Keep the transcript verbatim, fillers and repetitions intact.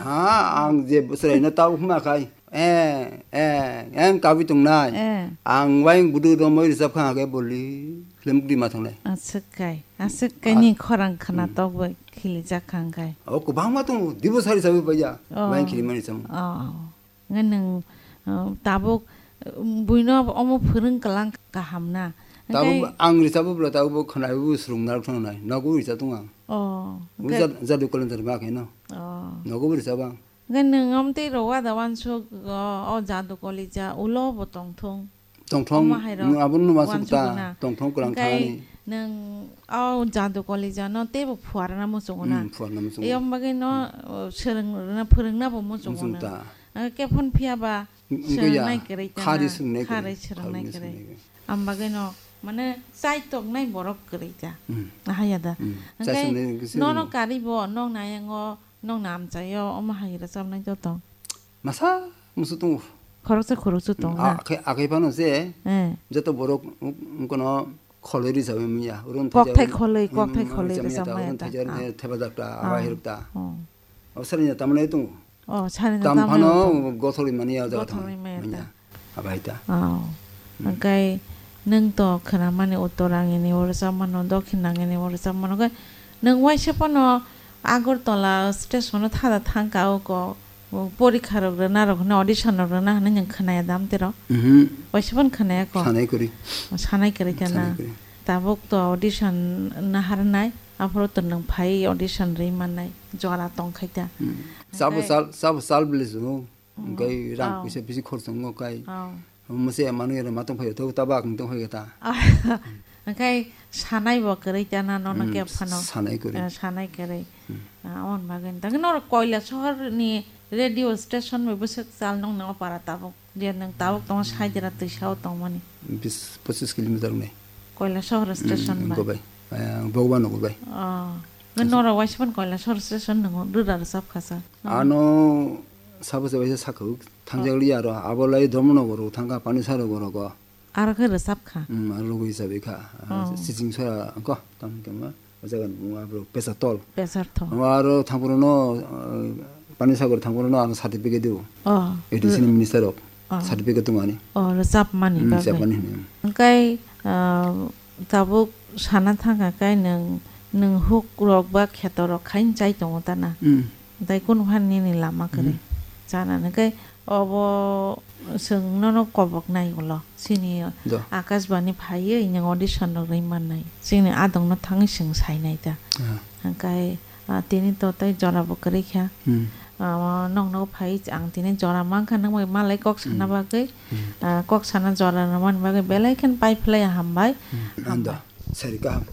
Ha, ang je bwswraino tau hwnma khai. Eh, eh, ang kabui tongnai. Eh. Ang waing budu romoi rijab kha hake boli film di ma thangnai. Aswk kai, aswk kai ni khorang khana tok bai khilijak kha hwnkhe. O kwbangma tongo, dibo sari sabi paiya. Oh. Waing khilimani samung. Oh. Nge nwng, uh, tabuk, uh, buino omo phwrwng kwlang kaham na. Tabuk ang rijabo bwla tabuk bo khwnai bo swrwng narwk thangnai. Nogo rijab tong ang. Oh. Bo jad-, jadu kolon jadu ma khe no. Oh. Nogo bo rijab ang. Hwnkhe nwng omtwi rw wada wansuk, o, o jadu kolija ulo bo tongthung. Tongthung, omo hai rok nwng abo numa suk ta, wansuk na. Tongthung kwlang thani. Nwng o jadu kolija no teibo phuarna muchungo na. Hmm, phuarna muchungo. Eyang bagwi no, o, swrwng rwna, phwrwngna bo muchungo nwng. Muchung ta. Hwnkhe phone phiya ba swrwngnai kwrwi ta na. Khari swrwngnai kwrwi. Khari swrwngnai kwrwi. Am bagwi no, mane, chai toknai borok kwrwi ta. Hmm. Ahaya da. Hmm. Hwnkhe chai swrwngnai kwrwi nono kwrwi. Kari bo, nokni ayango, nokni amchaio omo hai rwchapnai joto. Masa musu tongo. Khoroksa khoroksa tongo na. Akhai, akhai phano se, eh, joto borok, um, kono kholoi rwchawi manya. Oro kokthai kholoi, kokthai kholoi rwchapmaya ta. Oro thaijar, eh, thepajak ta, aba hiruk ta. Oh. Abo sari na tamani tongo. Oh, sari na tamani tongo. Tam phano gothorwi mani ya jaga tongo. Gothorwi maya ta. Manya. Aba hai ta. Oh. Hmm. Hwnkhe nwng to khwnamani uttor ang ini oro chamano, dokhin ang ini oro chamano. Hwnkhe nwng waisa phano Agartala station o thada thangka o ko, o porikha rok rwna rok hwnwi audition rok rwna hwnwi nwng khwnaya dam tero? Mhm. Waisa phano khwnaya ko? Sanai kwrwi. Sanai kwrwi khe na? Sanai kwrwi. Tabuk to audition naharnai, aphuru to nwng phai audition rwi mannai, jora tongkhai ta. Hmm. Sabo sal, sabo sal bwle chwng. Hwnkhe rang puisa bisi khorchongo kai. Oh. Mose manwi aro matong phaio, tabo tabuk ang tong phaikha ta. Hwnkhe sanai bo kwrwi ta na nono khe phano. Sanai kwrwi. Eh, sanai kwrwi. Hmm. Ah, on bagwi. Tangwi norok Koilasohor ni radio station bai bwswk chal nong nang para tabuk. Je nwng tabuk tongo Saidira twisa o tongmani. Bis, pochis kilometer wngnai. Koilasohor station bai. Wngkha bai. Eh, Bhagwan nogo bai. Oh. Nge norok waisa phano Koilasohor station nwngo rwra rwchap kha sa. Ano sabo se waisa sakha thangjakliya aro. Abo lai Dharmanagar o thangkha, Panisagar o rogo. Aro khe rwchap kha. Hmm, aro logo hisabe kha. Oh. Sijing sora ko, tamo khe ma, o jaga ni buma bro, Pesatol. Pesatol. Aro thangphuru no, eh, Panisagar thangphuru no ano certificate do. Oh. A D C ni minister rok. Oh. Certificate tong ani. Oh, rwchap mani bagwi. Hmm, rwchap mani, hmm. Hwnkhe, ah, tabuk sana thangkha khe nwng, nwng huk rok ba kheto rok khain chai tongo ta na. Hmm. Tei kunu phan nini lama kwrwi. Hmm. Chana hwnkhe obo chwng nono kobok nai ulo. Chini Akashbani phaiwi nwng audition rok rwi mannai. Chini adong no thangwi chwng sainai ta. Ah. Hwnkhe, ah, tini to tei jora bo kwrwi kha. Hmm. Ah, nokno phai ang tini jora mankha nang bai malai kok sana bagwi. Hmm. Ah, kok sana jora rwmani bagwi belai khe pai phlai hambai. Hmm. Ando. Hambai. Sari kaham.